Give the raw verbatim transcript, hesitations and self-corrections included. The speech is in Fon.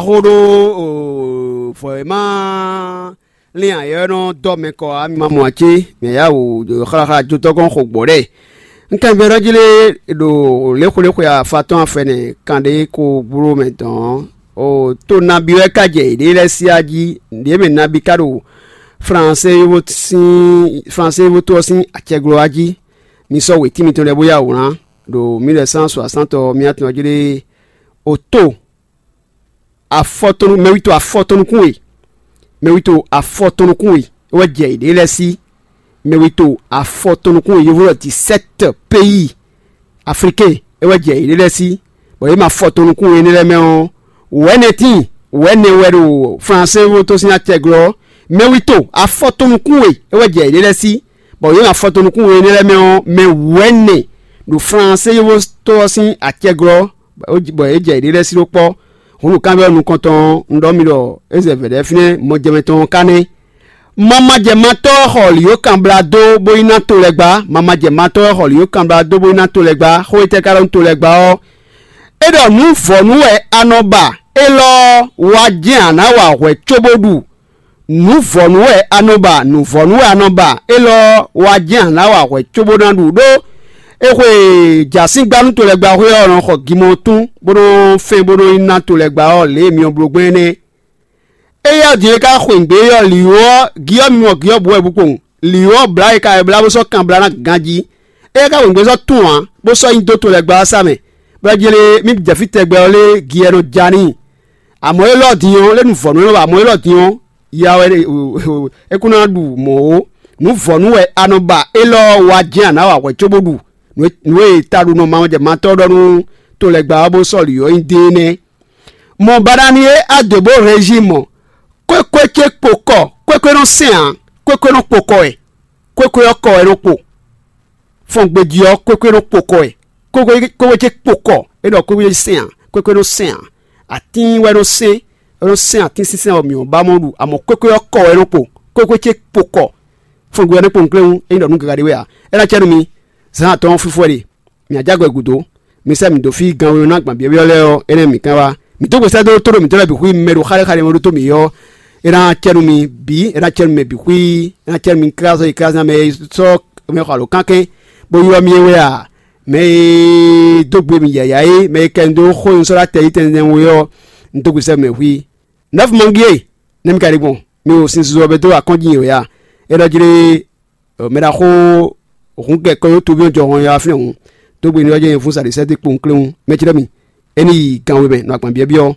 Axo ɖó vɔ e ma lin ayɔ nɔ dɔ mɛ kɔ ɔ́, mi ma mɔ ǎ cé? Mɛ ya wò xláxlá jotɔ́ gɔ́n xo gbɔ̌ ɖɛ. Un kɛnvɛ ɖɔ jí lé ɖo léxwléxwe afatɔ́n afɛnɛ kanɖé ko bló mɛ dɔn ɔ́, to nabi wɛ ka jɛ yěɖée lɛ́ɛ sí a jí. Nǔɖé mɛ nabi ka ɖo Flansé yovó sín Flansé yovó tó ɔ́ sín acɛglɔ́ a jí. Mi sɔ́ wětín mitɔn lɛ́ɛ bó yá wǔ ná ɖo mille neuf cent soixante ɔ́, mi atɔn jí lé o to afɔtɔnu mɛwito afɔtɔnukún e mɛwito afɔtɔnukún e é wɛ jɛ yěɖée lɛ́ɛ sí. Mɛwito afɔtɔnukún e yovó ɖɔ dix-sept pays africain é wɛ jɛ yěɖée lɛ́ɛ sí, bɔ yě ma fɔtɔnukún e énɛ́ lɛ́ɛ mɛ ɔ́, wɛ̌nɛ tíin wɛ̌nɛ wɛ ɖo Flansé wótó sín acɛglɔ́. Mɛwito afɔtɔnukún e é wɛ jɛ yěɖée lɛ́ɛ sí, bɔ yě ma fɔtɔnukún e énɛ́ lɛ́ɛ mɛ ɔ́, mɛ wɛ̌nɛ ɖo Flansé yovótó ɔ́ sín acɛglɔ́, bɔ é jɛ yěɖée lɛ́ɛ sí ɖó kpɔ́. Hǔn nǔkanbyɔ́ nukɔntɔn ɔ́, un ɖɔ mi ɖɔ é zɛ vɛ̌ ɖɛ́ fínɛ́ mɔjɛmɛ tɔn ɔ́ ka nɛ́. Mamajɛmatɔ́ ɔ́ xɔ lǐyó kanblá dó bó yi ná to lɛ́ɛ gbá. Mamajɛmatɔ́ ɔ́ xɔ lǐyó kanblá dó bó yi ná to lɛ́ɛ gbá. Xó e tɛ́ ka ɖɔ nú to lɛ́ɛ gbá ɔ́, é ɖɔ nǔ vɔ̌nu wɛ a nɔ ba, élɔ́ ɔ́, wá jɛ́n a nǎ wa hwɛ̌ cóbó ɖu. Nǔ vɔ̌nu wɛ a nɔ ba, nǔ vɔ̌nu wɛ a nɔ ba, élɔ́ ɔ́, wá jɛ́n a nǎ wa hwɛ̌ cóbó ná ɖu ɖó é xwe jǎsíngba nú to lɛ́ɛ gbá xwé ɔ́ nɔ xɔ gimɔtún bó nɔ́ fɛ́n bó nɔ́ yi ná to lɛ́ɛ gbá ɔ́ lě e myɔ bló gbɛn énɛ́. Éyɛ́ ɔ́ din e ka xweyǐgbe é ɔ́, lǐwó ɔ́, gyɔ́ mi mɔ gyɔ́ bǔ wɛ bú kpowun. Lǐwó ɔ́ blǎ e ka wɛ blá bó sɔ́ kan blá ná ganjí. Éyɛ́ ka xweyǐgbe sɔ́ tún ǎ, bó sɔ́ nyi dó to lɛ́ɛ gbá ɔ́ sá mɛ, bɔ é jlé mì jɛ fí tɛgbɛ ɔ́ lé gi ɛ nɔ ja n'i. Amɔ̌ élɔ́ din ɔ́, lé nu vɔ̌ nú é nɔ ba amɔ̌ élɔ́ din ɔ́, ya wɛ é kún ná ɖu mɔ̌ ó. Nǔ vɔ̌ nú wɛ a nɔ ba élɔ́ ɔ́ wá jɛ́n a nǎ wa hwɛ̌ cóbó ɖu nǔ e taɖunɔ mamɔjɛmatɔ́ ɖɔ nú to lɛ́ɛ gbá ɔ́ bó sɔ́ lǐ ɔ́ nyi dé é nɛ́. Mɔ banani e a dǒ bó hɛn jí mɔ, kwékwe ce kpo kɔ, kwékwe nɔ sɛn ǎ, kwékwe nɔ kpo kɔ wɛ, kwékwe ɔ́ kɔ wɛ nɔ kpo. Fɔngbejí ɔ́, kwékwe nɔ kpo kɔ wɛ, kwékwe kwékwe ce kpo kɔ, é ɖɔ kwékwe ce sɛn ǎ, kwékwe nɔ sɛn ǎ, atín wɛ nɔ sɛn, é nɔ sɛn atín sínsɛ́n ɔ́ mǐ ɔ́ ba mɔ ɖu, amɔ kwékwe ɔ́ kɔ wɛ nɔ kpo, kwékwe ce kpo kɔ. Fɔngbe ɔ́ nɔ kpo nukléwún, é nyí ɖɔ nú gaga ɖé wɛ ǎ. É ná cɛ nú mi, zǎn atɔ́ɔ́n fífó wɛ ɖe. Mǐ ajá gbɛ gǔdo, mi sɛ́ mǐ dó fí ganwénɔ ná gbǎn byɔ́byɔ́ lɛ́ɛ ɔ́, énɛ́ mǐ kán wá. Mǐ dó gbe sɛ́ dó tóɖó mǐtɔn lɛ́ɛ bǐ xwí mɛ ɖo xáɖéxáɖé mɛ ɖótó mǐ ɔ́, é ná cɛ nú mi bǐ, é ná cɛ nú mɛ bǐ xwí, é ná cɛ nú mi klázɔ́ yi klázán mɛ e sɔ́ mɛ xɔ alǒ kánkɛ́n, bó ylɔ́ mì é wɛ a, mɛ e dó gbe mì yǎyá é, mɛ e kɛ un dó xó un sɔ́ ɖó atɛ yi tɛnzɛn we ɔ́, un dó gbe sɛ́ mɛ xwí. Nɛ́fumɔngí e, nɛ́ mi ka ɖi gbɔn? Mi ɖo sin susu ɔ́ bɛ́ dó akɔ́njí yě wɛ a? É ɖɔ jlé mɛ ɖaxó hǔn kɛ kɔ́ yó tobyɔ́ jɔ hɔn ya fínɛ́ hǔn, dó gbe ní ɔ́ jɛ nyɛ fún saɖisɛ́ dó kpowun kléwún. Mɛ ce ɖɔ mi, é ní yi gan we mɛ nɔ agban byɔ́byɔ́.